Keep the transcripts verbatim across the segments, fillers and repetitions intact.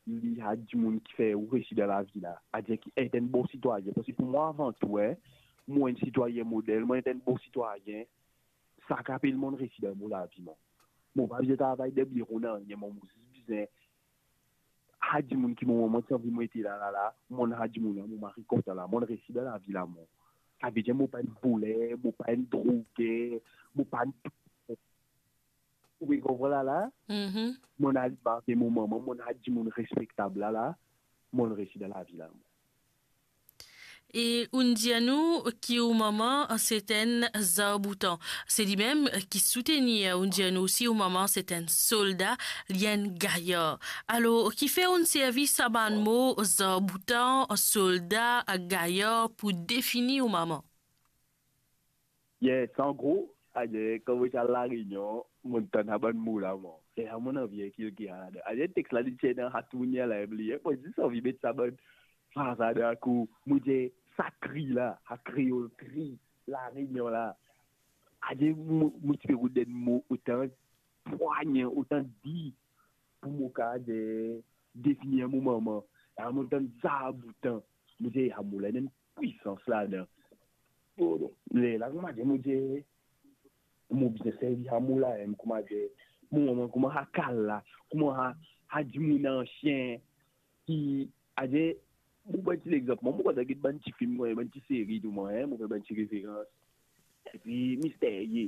li a dimoun ki fer ou resi dan lavi la. Adir ki et enn bon sitwayin. Parski pou mwa, avan tou, eh, mo enn sitwayin model, mo et enn bon sitwayin. Sa ki apel monn resi dan mo lavi, mwa. Mo pa bizin travay dan biro, nanye, mwa, mo zis bizin a dimoun ki mo mama ti anvi mo ete la, la, la, monn a dimoun la, mo mari kontan la, monn resi dan lavi la, mwa. Savedir mo pa enn voler, mo pa enn droger, mo pa enn Ou pe konpran la la? Mhm. Monn al marye mo mama, monn al dimoun respektab la la, monn resi dan lavi la. E ou'nn dir nou ki ou mama, se enn zarboutan. Se limem ki soutenir, ou'nn dir nou osi ou mama se enn solda, li enn gayar. Alor, kifer ou'nn servi sa bann mo zarboutan, solda, gayar pou defini ou mama? Yes, an gro, adir, kan mo ti al La Réunion, monn tann sa bann mo la, mwa. E la, monn anvi inkilke sa ladan. Adir, text la, li ti ena sa tourner la, e bliye. Mo zis anvi met sa bann fraz ladan, kou, mo dir, sa kri la, sa kreol kri, La Réunion la. Adir, mo, mo ti pe rout enn mo otan pwagn, otan di, pou mo kapav de, definir mo mama. E la, monn tann zarboutan. Mo dir, a, mo la, ena enn pwisans ladan. Bon, lerla, kouma dir, mo dir, mo bizin servi sa mo la, em, kouma dir, mo mama, kouma sa kal la, kouma sa, sa dimoun ansien, ki, adir, mo pran ti lexanp, mwa, mo kontan get bann ti fim, mwa, bann ti seri, tou, mwa, en, mo fer bann ti referans. Epi, misterye,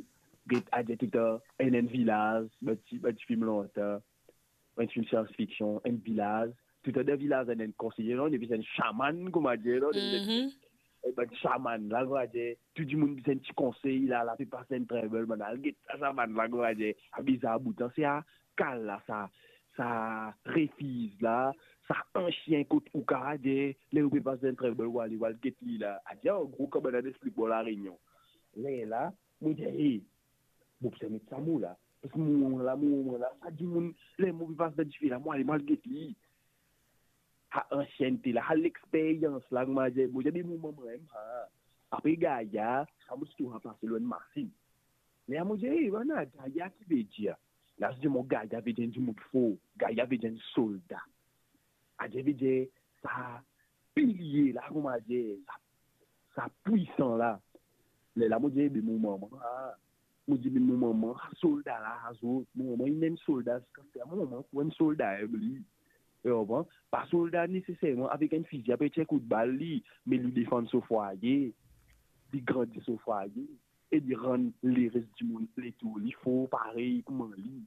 get, adir, toutan, enn, enn vilaz, bann ti, bann ti fim lontan. Enn fim science fiction, enn vilaz. Toutan dan vilaz, enn, enn konseye, non, epi se enn shaman, kouma dir, non, epi se enn, Mhm. enn bann shaman la, kouma dir, tou dimoun bizin ti konsey la, la pe pas enn trouble, bann al get sa shaman la, kouma dir, abiz a boutan, se a kal la, sa, sa refiz la, sa ansien kot ou kapav dir, ler ou pe pas enn trouble, ou al, ou al get li la. Adir, an gro, kan bann la explik mwa La Réunion. Lerla, mo dir, hey, mo bizin met sa mo la. Parski mo, la, mo, mo, la, sa dimoun, ler mo pe pas dan dife la, mo ale, mo al get li. Sa ansiennte la, sa lexperyans la, kouma dir, mo dir, be mo mama mem, ha. Apre gayar, sa mo ti trouv sa plase lor enn masinn. Me mo dir, hey, bann la, gayar ki vedir? La, ti dir mwa, gayar vedir enn dimoun for, gayar vedir enn solda. Adir vedir sa pilie la, kouma dir, sa, sa pwisan la. Lerla mo dir, be mo mama, ha. Mo dir, be mo mama, sa solda la, sa zot. Mo mama, li mem solda, ziska aster, mo mama, pou enn solda, em, li. Ou konpran? Pa solda neseserman avek enn fizi, apre tir kout bal li, me li defann so fwaye, li grandi so fwaye, e li rann leres dimoun letour li for parey kouma li.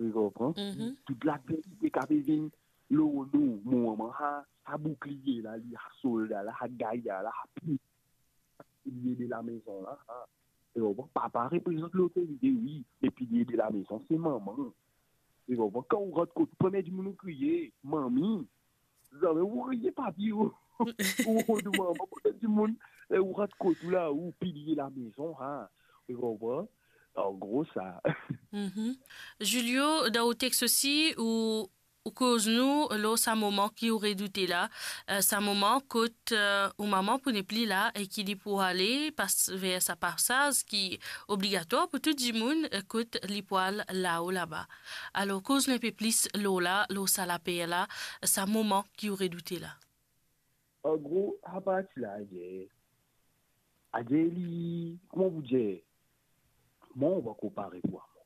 Ou konpran? Mhm. Tout ladversite ki pe vinn lor nou, mo mama, sa, sa boukliye la, li, sa solda la, sa gayar la, sa pi- piliye de lamezon la, ha. Ou konpran? Papa reprezant lotorite, wi, me piliye de lamezon, se mama. Ou konpran? Kan ou rant kot ou, premie dimoun ou kriye, manmi. Zame ou kriye papi ou, ou, ou mama, premie dimoun, e ou rant kot ou la, ou piliye lamezon, ha. Ou konpran? An gro, sa. Mhm. Julio, dan ou text osi, ou ou koz nou lor sa moman ki ou redoute la, eh, sa moman kot, eh, ou mama pou nepli la e ki li pou ale pas, ver sa pasaz ki obligatwar pou tou dimoun, eh, kot li pou al lao laba. Alor, koz nou enpe plis lor la, lor sa laper la, sa moman ki ou redoute la. An gro, sa parti la, adir, adir li, kouma pou dir, mwa, mo pankor pare pou sa mwa.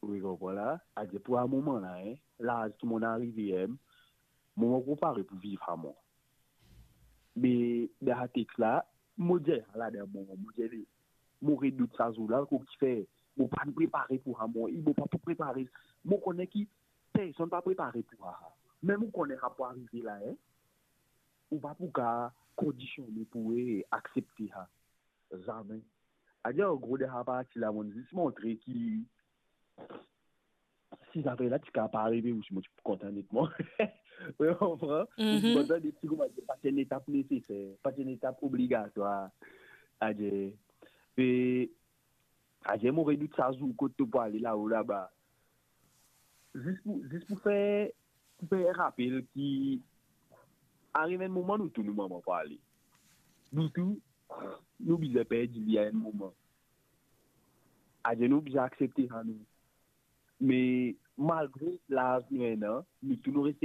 Ou konpran la? Adir pou sa moman la, en, laz ki monn arive, en, mo pankor pare pou viv sa mwa. Me dan sa text la, mo dir sa ladan mo, mo dir li, mo redout sa zour la, kouma kifer mo pa'nn prepare pou sa mwa, e mo pa pou prepare, mo kone ki personn pa prepare pou sa. Mem ou kone sa pou arive la, en, ou pa pou kapav kondisione pou, e, aksepte sa. Zame. Adir, an gro, dan sa parti la, monn zis montre ki si zafer la ti kapav arive, ou si mo ti pou kontan netman. Ou konpran? Mhm. Mo ti kontan de ti kouma dir, pa ti enn etap neseser, pa ti enn etap obligatwar. Adir, e, adir, mo redout sa zour kot to pou ale lao laba. Zis pou, zis pou fer, pou fer rapel ki arive enn moman, nou tou nou mama pou ale. Nou tou, nou bizin perdi li a enn moman. Adir nou bizin aksepte sa nou. Me malgre laz nou ena, nou tou nou reste